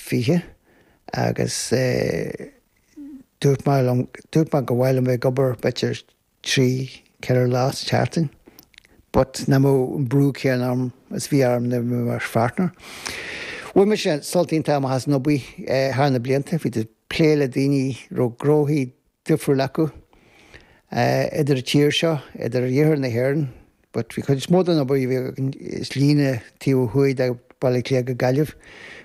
20 agus dúirt mé liom, dúirt mé gur mhaith liom bheith ag obair b'fhéidir 3, 4 lá sa tseachtain but nach mbeadh an brú céanna orm is bhí orm nuair a bhí mé mar pháirtneir. Bhain mise sult iontach amach as an obair thar na blianta, bhí tú ag plé le daoine a raibh gnóthaí difriúil acu idir an tír seo, idir iarthar na hÉireann, but bhí cuid is mó den obair a bhí againn is líne taobh ó thuaidh de Bhaile Átha Cliath go Gaillimh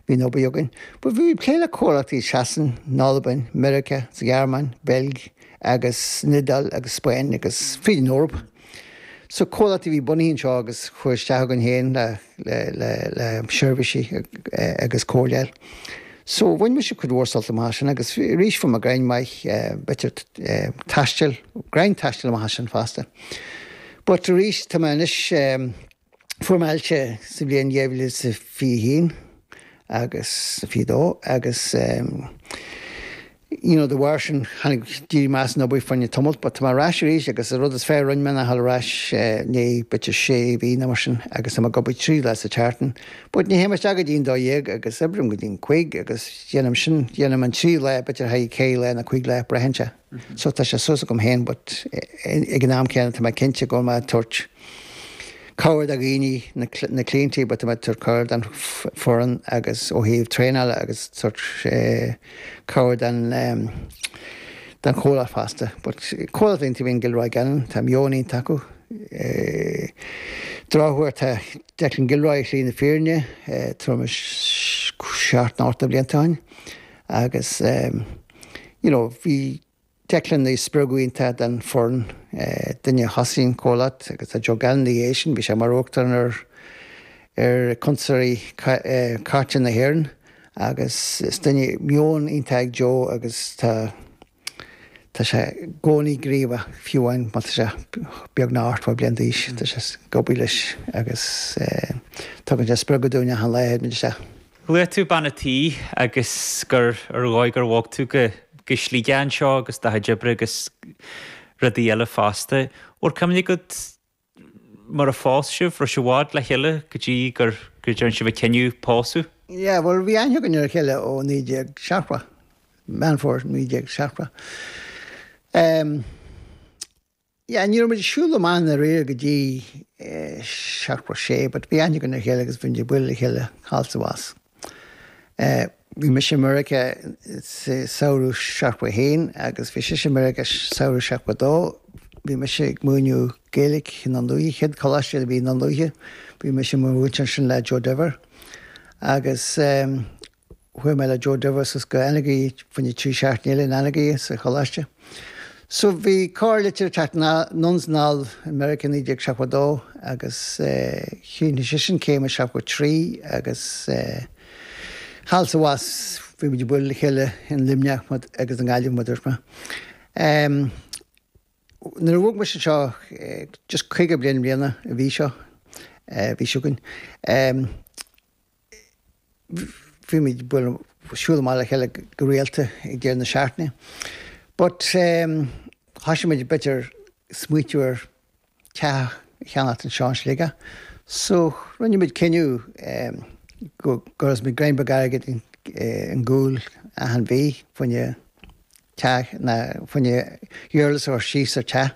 bhí an obair againn. But bhí plé le comhlachtaí i Sasain, in Albain, Meiriceá, sa Ghearmáin, Beilg agus san Iodáil agus Spáinn agus fríd an Eoraip. So comhlachtaí a bhí bunaithe anseo agus chuaigh isteach againn féin le le le le seirbhísí agus comhairle. So bhain mise cuid mhór sult amach as sin agus arís fuair mé greim maith b'fhéidir taistil, greim taistil amach as sin fosta. But arís tá mé anois, fuair mé ailse sa bhliain 2021 agus 22 agus you know de bharr sin tháinig, d'éirigh mé as an obair fá choinne tamalt but tá mé ar ais arís agus an rud is fearr a rinne mé ná dhul ar ais i ndiaidh b'fhéidir sé mhí nó mar sin agus tá mé ag obair 3 lá sa tseachtain but ní théim isteach go dtí an 12 agus oibrím go dtí an 5 agus déanaim sin, déanaim an 3 lá b'fhéidir haghaidh 4 lá nó 5 lá braitheann sé. So tá sé suas agam féin but ag an am céanna tá mé cinnte go bhfuil mé ag tabhairt cabhair do dhaoine, na cliaintí but tá mé ag tabhairt cabhair don foireann agus ó thaobh traenála agus tabhairt cabhair don don chomhlacht fosta. But comhlacht iontach a bhí in Gilroy Gannon, tá meon iontach acu. Drochuair tá Declan Gilroy ar shlí na fírinne tuairim is 7 nó 8 de bhlianta ó shin agus you know, bhí Declan ina spreagadh iontach don foireann, duine a thosaigh an comhlacht agus tá Joe Gannon ina dhiaidh sin, bhí sé mar uachtarán ar ar Cuntasóirí Cairte na hÉireann agus is duine meon iontach ag Joe agus tá tá sé i gcónaí gníomhach fiú amháin má tá sé beagnach 80 bliain d'aois, tá sé ag obair leis agus tugann sé spreagadh dúinn achan lá a théimid isteach. Luaigh tú bean a' tí agus gur ar dhóigh gur bhog tú go go Sligeach anseo agus do chuid oibre agus rudaí eile fosta. Bhfuil cuimhne agat mar a phós sibh, raibh sibh i bhfad le chéile go dtí gur go dtearn sibh an cinneadh pósadh? Yeah, bhuel bhí aithne againn ar a chéile ó 1970, Meán Fómhair 1970. Um, Yeah, ní raibh muid ag siúl amach i ndáiríre go dtí 76 but bhí aithne againn ar a chéile agus bhí muid ag bualadh le chéile thall is abhus. Bhí mise i Meiriceá sa samhradh 71 agus bhí sise i Meiriceá samhradh 72. Bhí mise ag múineadh Gaeilge i nDún Lúiche, chéad choláiste a bhí i Ndún Lúiche, bhí mise i mo mhúinteoir ansin le Joe Diver agus Chuaigh mé le Joe Diver suas go Anagaire, fá choinne 3 seachtaine eile in Anagaire sa choláiste. So bhí corrlitir ag teacht anonn is anall i Meiriceá i 1972 agus chríochnaigh sise an céim i 73 agus thall is abhus bhí muid ag bualadh le chéile in Luimneach agus i nGaillimh mar a dúirt mé. Nuair a bhog mise anseo just 50 bliain i mbliana an mhí seo, bhí seo chugainn, Bhí muid ag bualadh, siúl amach le chéile go rialta ag deireadh na seachtaine. But thoisigh muid b'fhéidir smaoitiú ar teach a cheannacht anseo in Sligeach. So rinne muid cinneadh go gcuirfeadh muid greim beag airgid i gcúl achan mhí fá choinne teach ná fá choinne iarratas a chur síos ar teach.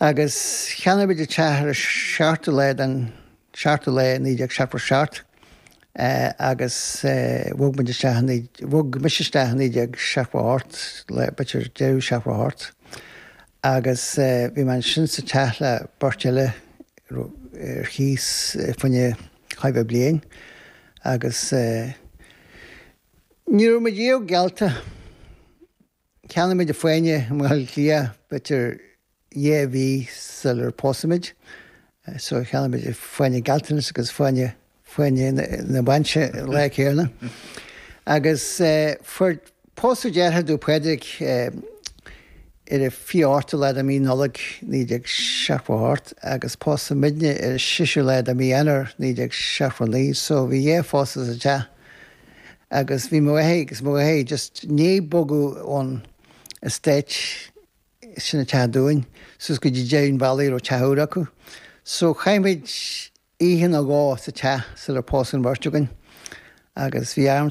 Agus cheannaigh muid an teach ar an seachtú lá den 7ú lá 1977 agus bhog muid isteach i, bhog mise isteach i 1978, b'fhéidir deireadh 78 agus bhí mé ansin sa teach le beirt eile ar chíos fá choinne chóir a bheith bliain agus ní raibh muid riamh geallta. Cheannaigh muid an fáinne i mBaile Átha Cliath b'fhéidir 2 mhí sular pósadh muid. So cheannaigh muid fáinne gealltanais agus fáinne fáinne na bainse an lá céanna. Agus fuair pósadh deartháir domh Pádraig ar an 28ú lá de mhí Nollag 1978 agus pósadh muidne ar an 6ú lá de mhí Eanáir 1979 so bhí dhá phósadh sa teach agus bhí mo mháthair agus mo dheartháir just i ndiaidh bogadh ón estate sin an teach dúinn, suas go dtí deireadh an bhealaigh a raibh teach úr acu. So chaith muid oíche nó dhó sa teach sular pósadh an bheirt againn agus bhí arm.